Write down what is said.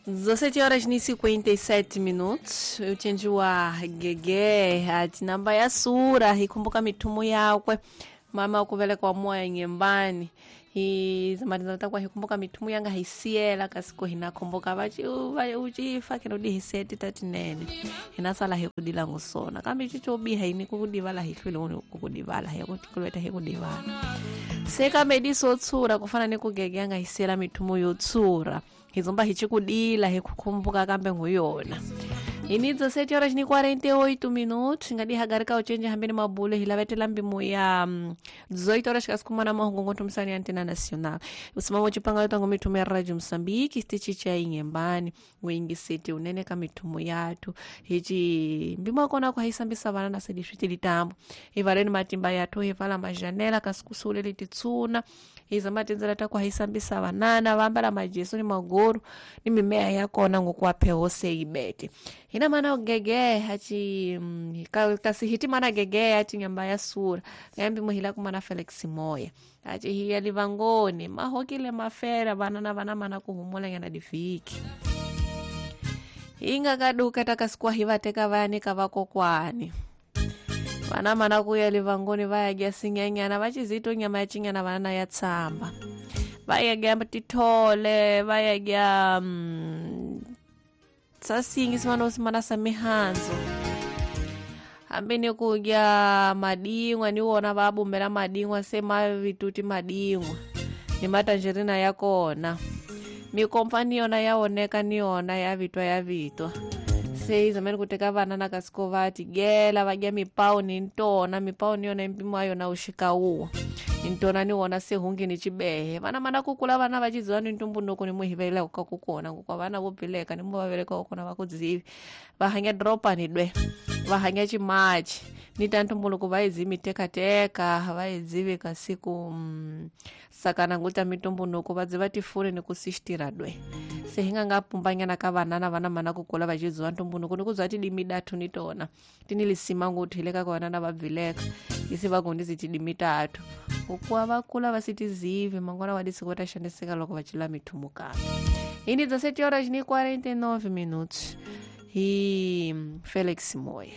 17 horas e 57 minutos. Uchenjiwa gege ati namba ya sura hikumbuka mitumu yakwe mama ukuvelekwa moya nyembani hizamatizamatakwa hikumbuka mitumu yanga hisiela kasiko hinakumbuka vachi uchifa kinodi hiseti tatinene hinasala hikudila ngusona kambi chichobiha ini kukudivala hihlwile uni kukudivala hekutikulweta hikudivala sekamediso tsura kufana nekugegeyanga hisela mithumu yotsura hizomba hichikudila hikukumbuka kambe nguyona ini 17 horas ni 48 minutos ngadihagarika uchenje hambeni mabule hilavetela mbimo ya 18 horas kasikumana mahungu ntomisani ya antena nacional usimamo chipanga yotango mithumu ya radio Mosambiki stichi cha inyembani wingi siti unene ka mithumu yathu hichi mbimo akona kwa hisambisa vana na sediswiti litambo hivaleni matimba yathu hivala majanela kasikusule lititsuna hizamatenzela takwa hisambisa vanana vambala majesu ni maguru ni mimea yakona ngokuwapheho seibete hina mana gege hachi kasihiti mana gege hachi nyamba ya sura ngambi muhila kumana Felix Moya hachi hiya livangoni mahokile mafera vanana vana mana kuhumula nyana difiki inga kaduka takasikuwa hivateka vayanika vakokwani vana mana kuya livangoni vayagya sinyanyana vachizito nyama ya chinyana vanana ya tsamba vayagya tithole vayagya sasingi simana usimana sa mihanzo hambi ni kudya madingwa niwona vabumbela madingwa se mavituti madingwa ni matanjerina ya kona mikomfa niyona yaoneka niyona yavitwa yavitwa se izamene kuteka vana na kasiko vati gela vadya mipau ni ntona mipau niyona mpimo wayona uxikauwa ntona niwona sehungi ni chibehe vana mana kukula vana vachiziva ni ntumbuluko ni muhiveleka kukona ngokwa vana vo bileka ni muvaveleka kukona vakudzivi vahanya dropani dwe vahanya chimachi ni ta ntumbuluko vaizivi mitekateka vaizivi kasiku sakana nguta mitumbunuko vadziva tifuni ni kusixitira dwe se hi nga nga pumbanyana ka vanana vana mana kukula vachiziva ntumbuluko ni ku bya tidimi dathu ni tona ti ni lisima nguthu hi le ka vanana va bvileka isi vagondizi tidimi tathu ukuwa vakula vasitizivi mangwana wa disiku va ta xaniseka loko va cela mithumu kambe ini 17 horas ni 49 minutos hi Felix Moya.